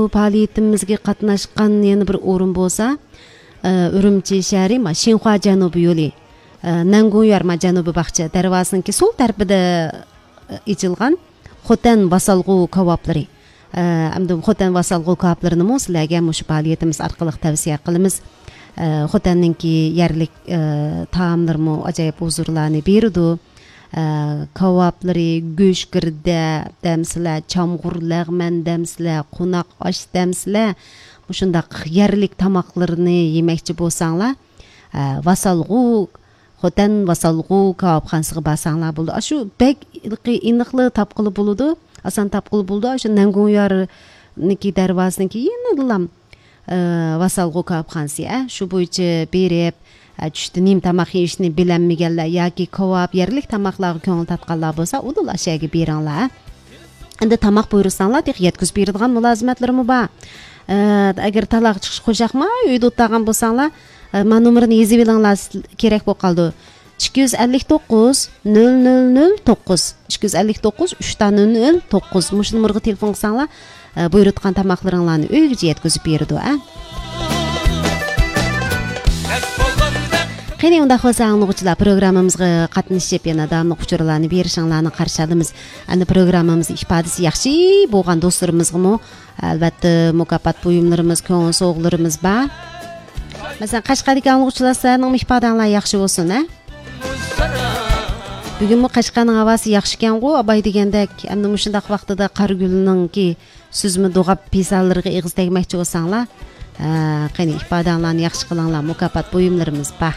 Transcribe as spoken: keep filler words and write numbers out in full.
بۇ پائالىيىتىمىزگە قاتناشقان يەنە بىر ئورۇن بولسا، ئە، ئۈرۈمچى شەھىرى، ما، شىنخۇا جەنۇبىي يولى، ئە، نەنگۇڭيۈەر، ما، جەنۇبىي باغچە دەرۋازىسىنىڭكى سول تەرىپىدە، ئە، ئېچىلغان خوتەن ۋاسالغۇ كاۋاپلىرى. ئە، ئەمدى خوتەن ۋاسالغۇ كاۋاپلىرىنىمۇ سىلەرگە مۇشۇ پائالىيىتىمىز ئارقىلىق تەۋسىيە قىلىمىز. ئە، خوتەننىڭكى يەرلىك، ئە، تائاملىرىمۇ ئاجايىپ ھۇزۇرلارنى بېرىدۇ. ئە، كاۋاپلىرى، گۆش گىردە دەمسىلە، چامغۇر لەغمەن دەمسىلە، قوناق ئاش دەمسىلە، مۇشۇنداق يەرلىك تاماقلىرىنى يېمەكچى بولساڭلار، ئە، ۋاسالغۇ، خوتەن ۋاسالغۇ كاۋاپخانىسىغا بارساڭلار بولىدۇ. ئاشۇ بەك ھېلىقى ئېنىقلا تاپقىلى بولىدۇ، ئاسان تاپقىلى بولىدۇ. ئاشۇ نەنگۇڭيارنىڭكى دەرۋازىسىنىڭكى يېنىدىلا، ئە، ۋاسالغۇ كاۋاپخانىسى، ئە، شۇ بويىچە بېرىپ، ئە، چۈشتە نېمە تاماق يېيىشنى بىلەلمىگەنلەر ياكى كاۋاپ، يەرلىك تاماقلارغا كۆڭۈل تارتقانلار بولسا، ئۇدۇل ئاشۇ يەرگە بېرىڭلار. ئەمدى تاماق بۇيرۇساڭلار، تېخى يەتكۈزۈپ بېرىدىغان مۇلازىمەتلىرىمۇ بار. ئە، ئەگەر تالاغا چىقىش قوشاقما ئۆيدە ئولتۇرغان بولساڭلار، ئە، ما نومۇرنى يېزىۋېلىڭلار، سىز-، كېرەك بولۇپ قالىدۇ. ئىككى يۈز ئەللىك توققۇز، نۆل نۆل نۆل توققۇز، ئىككى يۈز ئەللىك توققۇز، ئۈچ دانە نۆل نۆل توققۇز. مۇشۇ نومۇرغا تېلېفون قىلساڭلار، ئە، بۇيرۇتقان تاماقلىرىڭلارنى ئۆيگىچە يەتكۈزۈپ بېرىدۇ، ئە. قېنى، ئۇنداق بولسا، ئاڭلىغۇچىلار، پروگراممىمىزغا قاتنىشىپ، يەنە داۋاملىق ئۇچۇرلارنى بېرىشىڭلارنى قارشى ئالىمىز. ئەمدى پروگراممىمىز ئىپادىسى ياخشى بولغان دوستلىرىمىزغىمۇ، ئەلۋەتتە، مۇكاپات بۇيۇملىرىمىز، كۆڭۈل سوۋغىلىرىمىز بار. مەسىلەن، قەشقەردىكى ئاڭلىغۇچىلار، سىلەرنىڭمۇ ئىپادەڭلار ياخشى بولسۇن، ھە؟ بۈگۈنمۇ قەشقەرنىڭ ھاۋاسى ياخشىكەنغۇ، ئاباي دېگەندەك. ئەمدى مۇشۇنداق ۋاقتىدا قارىگۈلنىڭكى سۈزمە دوغاپ پىسانلىرىغا ئېغىز تەگمەكچى بولساڭلار، ھە، قېنى، ئىپادەڭلارنى ياخشى قىلىڭلار، مۇكاپات بۇيۇملىرىمىز بار.